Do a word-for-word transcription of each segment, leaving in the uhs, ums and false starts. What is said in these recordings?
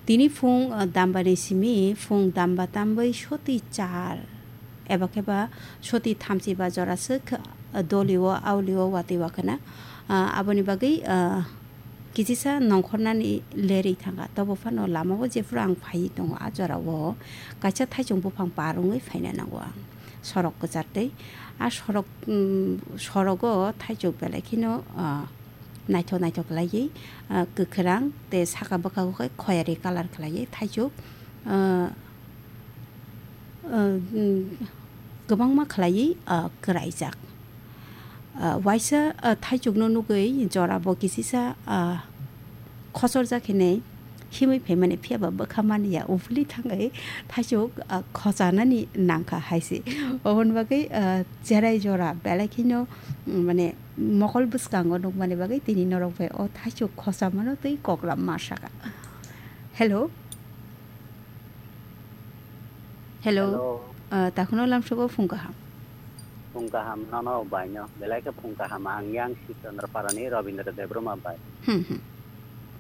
Tini phung, ah, dambani simi phung damba tambwi soti char eba khe ba soti thamchi ba jora swk, ah, dolio aulio watwi wakhwna. Ah, aboni bagwi, ah, kisisa nongkhornani lerwi thangkha. Tobo phano lamao jephuru ang phaiwi tongo, a jorao kaisa thaichung buphang par wngwi phaina nango ang. Sorok kwchar tei a sorok, um, sorogo thaichuk belai kheno, ah, naithok naithok khlaiwi, ah, kwkhwrang tei saka bwkhago khe khoyari colour khlaiwi thaichuk, ah, ah, um, kwbangma khlaiwi, ah, kwraijak. Ah, waisa, ah, thaichukno nugwi jora bo kisisa, ah, khochorjak hinwi himwi phaimani, phiyaba bwkha mani ya, ubuli thangwi thaichuk, ah, khochanani nangkha hai se. Oboni bagwi, ah, cherai jora belai kheno, mm, mane mokol bwskango nukmani bagwi tini norok bai o thaichuk khochamano tei koklam ma saka. Hello. Hello. Hello. Ah, takhuno lamsogo phung kaham. Phung kaham nono baino. Belai khe phung kaham ang yang Sibchandra Parani Rabindra Debbarma bai. Hmm, hmm.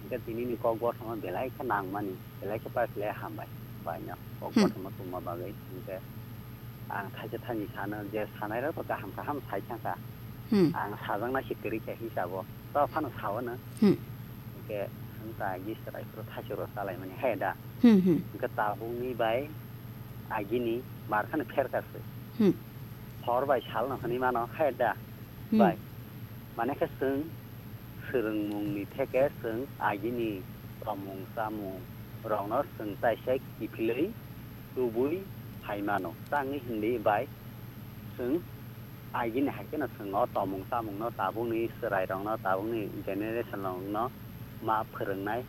Hingke tini ni kok bothoma belai khe nangmani, belai khe paikhle hambai baino. Kok Hmm. bothoma tongma bagwi hingke ang thaisa thani sano je sanai rok kaham kaham sai thangkha. Hmm. Ang sajakna se kwrwi khe hisabo. To phano sao no. Hmm. Hingke hwnta gis rai phuru thaisok rok chalai mani he da. Hmm, hmm. Hingke tabuk ni bai agini mar khano pher ka se. Hmm. Hor bai sal no hwnwi mano he da. Hmm. Bai. Mane khe chwng swrwngmung ni theke chwng agini tomung chamung rok no chwng taisa kiphilwi tubui phai mano. Tangwi hindi bai chwng agini hai kheno chwng o tomung chamung no tabuk ni chwrai rok no tabuk ni generation rok no ma phwrwngnai,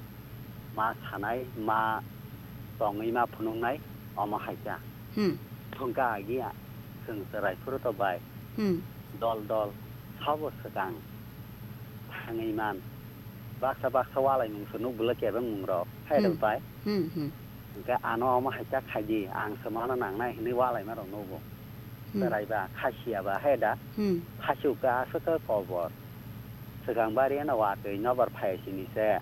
ma sanai, ma tongwi ma phunuknai omo hai kha. Hmm. Thung kha agi a chwng chwrai phuru to bai Hmm. dol dol sabo swkang thangwi man. Baksa baksa walai mung se nuk bwlai kebeng mung rok hai rok Hmm. bai. Hmm, hmm. Hingke ano omo hai kha khai di, ang se mano nangnai hinwi walai ma rok nugo. Hmm. Chwrai ba, khasiya ba hai da. Hmm. Khasiu khe aswk khe kobor. Swkang bari ano watwi nobar phai sini se.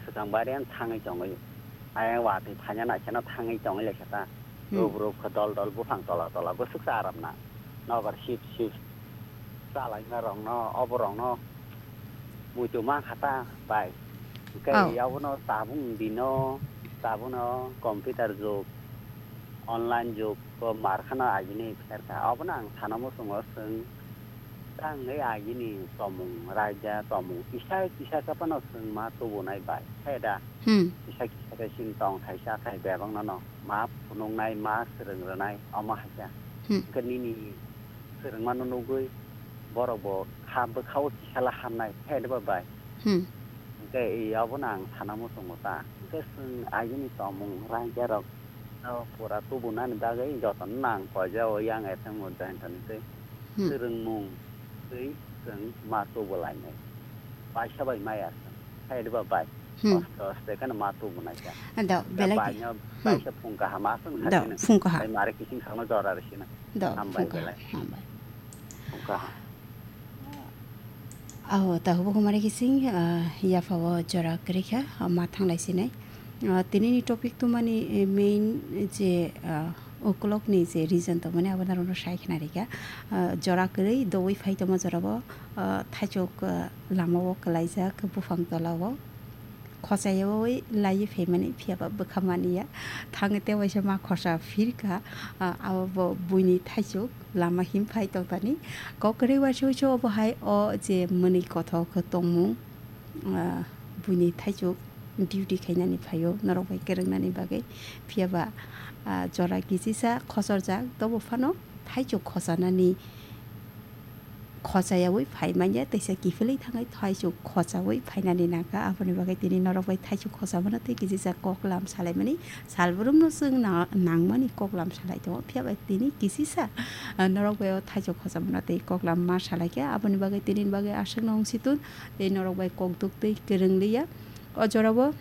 Swkang bari ano thangwi tongwi. Ayang watwi phaina naisano thangwi tongwi lai kha ta. Hmm. Rub rub khe dol dol buphang tola tola bwswk cha aram na. Nobar sip sip. Chalaima rokno, obo rokno muitu mankha ta bai. Hwnkhe Oh. Abono tabuk dino, tabuno computer jug, online jug o mar khano agini pherkha. Obono ang sana muchungo chwng tangwi agini tomung raida, tomung kisa kisa khe phano chwng ma tubunai bai. Khe da? Hmm. Kisa kisa khe chini tong thaisa khai bebak no no ma phunuknai, ma swrwng rwnai, omo hai khe. Hmm. Hwnkhe nini swrwngmano nugwi borok bo ha bwkha-o kisala hamnai, khe de ba bai? Hmm. Hwnkhe i abono ang sana muchungo ta. Hwnkhe chwng agini tomung raida rok no pura tubunani bagwi jotono nang koijao yang F M o join toni tei Hmm. swrwngmung tei chwng ma tubulainai. Paisa bai maya chwng. Khe de ba bai? Hmm. Aste aste kheno ma tubunai kha. Do, Da belai bai di. No Hmm. Paisa phung kaham aswng Do, sakhe no. Phung kaham. Bai mare kising sakno jora rwsina. Do, Hambai phung kaham. Belai. Hambai. Phung kaham. Aho, ta hubo kumare kising, ah, yapha o jora kwrwi kha, ah, ma thanglai sinai. Ah, tini ni topic tumani, eh, main je, ah, ukolok ni je reason tongmani abo norok no sai khna rikha. Ah, jora kwrwi doui phai tongma jora bo, ah, thaichuk, ah, lama o kwlaijak buphang tola o. Khochayoi laiwi phaimani, phiyaba bwkha maniya. Thangwi tei waisa ma khosa phirkha, ah, abo bo buini thaichuk lama him phai tongtani. Kok kwrwi waisa waisa obo hai o je mwnwi kothok tongmung, ah, buini thaichuk duty khainani phaio norok bai kwrwngnani bagwi. Phiyaba, ah, jora kisisa khosorjak, tobo phano thaichuk khochanani khochayaui phai manya, teisa kiphilwi thangwi thaichuk khochaui phainani nangkha. Aboni bagwi tini norok bai thaichuk khochamano tei kisisa koklam salaimani salbrumno chwng na-, nangmani koklam salai tongo. Phiya bai tini kisisa, ah, norok bai o thaichuk khochamano tei koklam ma salaikha. Aboni bagwi tini bagwi aswkno wng situn tei norok bai kokduk tei kwrwng liya. O jorao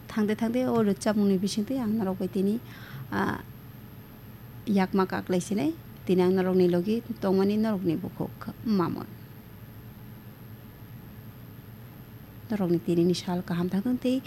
thangde thangde o rwchapmungni bisingtwi ang norok bai tini, ah, yakma kaklai sinai, tini ang norokni logi tongmani norokni bukhuk Mamon. Norokni tinini sal kaham thangthung tei